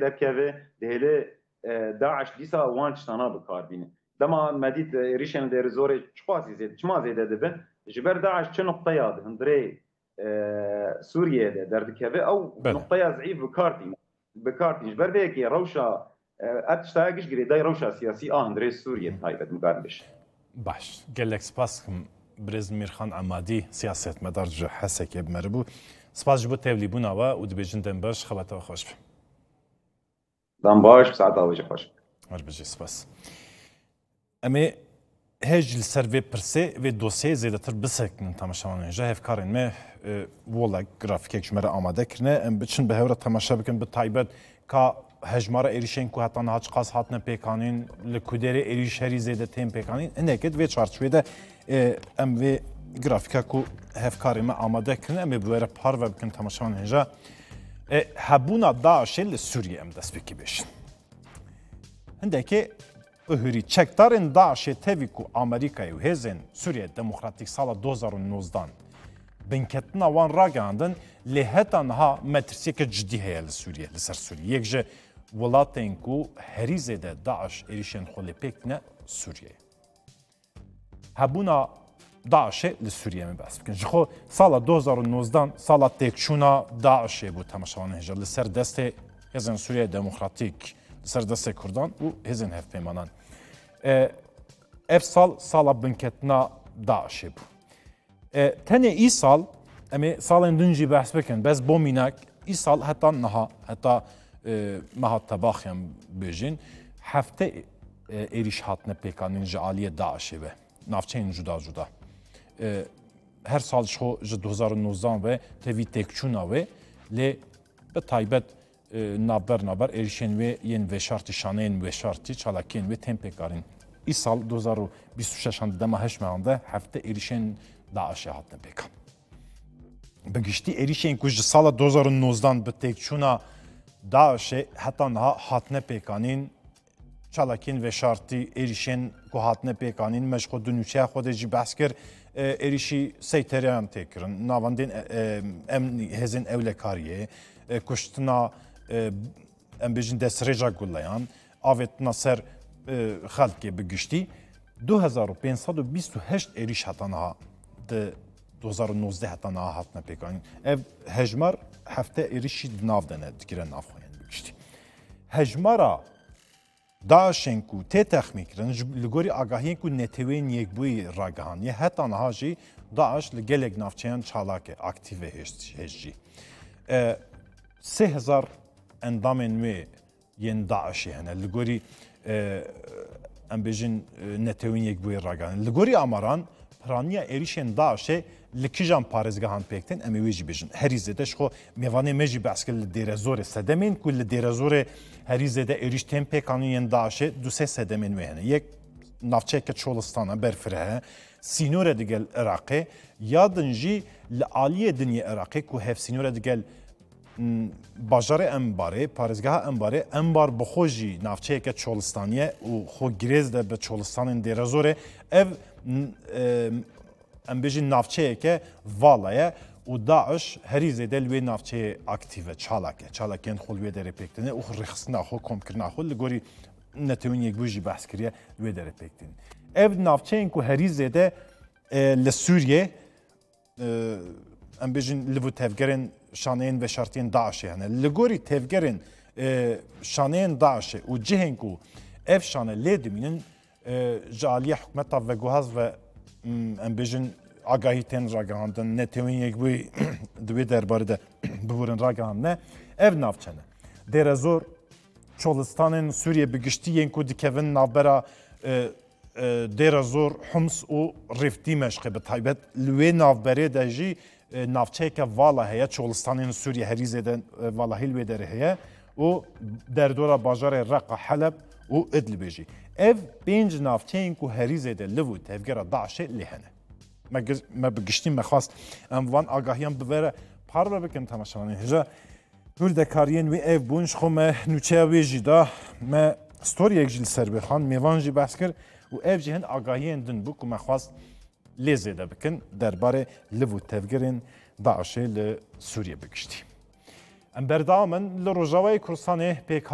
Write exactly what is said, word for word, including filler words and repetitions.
derkeve, dihêle, e, DAIŞ dîsa wan tiştana bi kar bîne. Dema me dît, e, êrîşên li Dêrizorê çiqasî zêde, çima zêde dibin? Ji ber DAIŞ çi nuqteya di hundirê, e, Sûriyê de derdikeve, ew Belê. nuqteya zîf bi kar tîne. Bi kar tîne. Ji ber vê yekê rewşa, e, ev tiştaya giş girêdayî rewşa siyasî a hundirê Sûriyê bi taybet, min kar bêje. Baş. Gelek spas dikim birêz Mîrxan Emadî, siyasetmedar ji Hesekê bi me re bû. Spas ji bo tevlîbûna we û dibêjin dem baş, xebata we xweş be. Dem baş, saeta we jî xweş. Her bijî, spas. Em ê hêj li ser vê pirsê, vê dosyeyê zêdetir bisekinin temaşevanên hêja. Hevkarên me, e, wela grafîkek ji me re amade kirine. Em biçin bi hev re temaşe bikin, bi taybet ka hejmara êrîşên ku heta niha çiqas hatine pêkanîn, li ku derê êrîş herî zêde tên pêkanîn. Hinekê di vê çarçovê de, e, em vê grafîka ku hevkarê me amade kirine, em ê bi we re parve bikin temaşevanên hêja. E, hebûna DAIŞê li Sûriyê em destpêkê bêjin. Hindekê bihurî çekdarên DAIŞê tevî ku Amerîkayê û hêzên Sûriye Demokratîk sala du hazar û nozdan binketina wan ragihandin, lê heta niha metirsiyeke cidî heye li Sûriye, li ser Sûriye. Yek ji welatên ku herî zêde DAIŞ êrîşên xwe lê pêk tîne Sûriye ye. Hebûna DAIŞê li Sûriye me behs bikin. Ji xwe sala du hazar û nozdan sala têkçûna DAIŞê bû, temaşevanên hêja, li ser destê Hêzên Sûriye Demokratîk, li ser destê Kurdan û hêzên hevpeymanan. E, ev sal sala binketina DAIŞê bû. E, tenê îsal, em ê salên din jî behs bikin, bes bo mînak, îsal heta niha, heta, e, meha Tebaxê em bêjin, hefte, e, êrîş hatine pêkanîn ji aliyê DAIŞê ve, navçeyên cuda cuda. E, her sal ji xwe ji du hazar û nozdan ve tevî têkçûna wê, lê bi taybet, e, navber navber êrîşên wê yên veşartî, şaneyên veşartî, çalakiyên wê tên pêkanîn. Îsal du hazar û bîst û şeşan di dema heşt mehan de hefte êrîşên DAIŞê hatine pêkan. Bi giştî êrîşên ku ji sala du hazar û nozdan bi têkçûna DAIŞê heta niha hatine pêkanîn, çalakiyên veşartî, êrîşên ku hatine pêkanîn, me ji xwe di nûçeya xwe de jî behs kir, e, êrîşî seytereyan tê kirin, navendên, e, e, emnî, hêzên ewlekariyê, e, kuştina, e, em bêjin destdirêja guleyan, avêtina ser, e, xelkê bi giştî. Du hezar û pênc sed û bîst û heşt êrîş heta niha di du hezar û nozdeh heta niha hatine pêkanîn. Ev hejmar hefte êrîşî di nav de ne, digire nav xwe, yani bi giştî. Hejmara DAIŞên ku tê texmînkirin, ji, li gorî agahiyên ku Neteweyên Yekbûyî ragihandiye, heta niha jî DAIŞ li gelek navçeyan çalak e, aktîf e hêj, hêj jî. E, sê hezar endamên wê yên DAIŞê hene. Li gorî, e, em bêjin, e, Netewên Yekbûyî ragihandin. Li gorî amaran, piraniya êrîşên DAIŞê li kijan parêzgehan pêk tên, em ê wê jî bêjin. Herî zêde ji xwe mêvanê me jî behs kir li Dêrezorê. Sedemên ku li Dêrezorê herî zêde êrîş tên pêkanîn yên DAIŞê, du sê sedemên wê hene. Yek navçeyeke Çolistan e, berfireh e, sînor e digel Iraqê, ya din jî li aliyê din yê Iraqê ku hevsînor e digel, m, bajarê Enbarê, parêzgeha Enbarê, Enbar bi xwe jî navçeyeke Çolistanî ye û xwe girêz de bi Çolistanên Dêrezorê. Ev, m, e, em bêjin navçeyeke vala ye û DAIŞ herî zêde li wê navçeyê aktîf e, çalak e. Çalakiyên xwe li wê derê pêk tîne û rêxistina xwe, komkirina xwe li gorî Netewên Yekbûyî jî behs kiriye, li wê derê pêk tîne. Ev navçeyên ku herî zêde, e, li Sûriyê, e, em bêjin liv û tevgerên şaneyên veşartiyên DAIŞê hene. Li gorî tevgerên, e, şaneyên DAIŞê û cihên ku ev şane lê dimînin, e, ji aliyê hikûmeta veguhaz ve, m, em bêjin agahî tên ragihandin, Netewên Yekbûyî di wê derbarê de biborin ragihandine. Ev navçe ne. Dêrezor, Çolistanên Sûriyê bi giştî yên ku dikevin navbera, e, e, Dêrezor, Homs û Rif Dîmeşqê bi taybet. Li wê navberê de jî, e, navçeyeke vala heye, Çolistanên Sûriyê herî zêde, e, valahî li wê derê heye û derdora bajarê Reqa, Heleb û Idlibê jî. Ev pênc navçeyên ku herî zêde liv û tevgera DAIŞê lê hene. Me gi-, me bi giştî me xwest em van agahiyan bi we re parve bikin temaşevanên hêja. Hûrdekariyên wê ev bûn, ji xwe me nûçeya wê jî da, me storiyek jî li ser wê xand, mêvan jî behs kir û ev jî hin agahiyên din bû ku me xwest lê zêde bikin derbarê liv û tevgerên DAIŞê li Sûriyê bi giştî. Em berdewam in li Rojavayê Kurdistanê pêk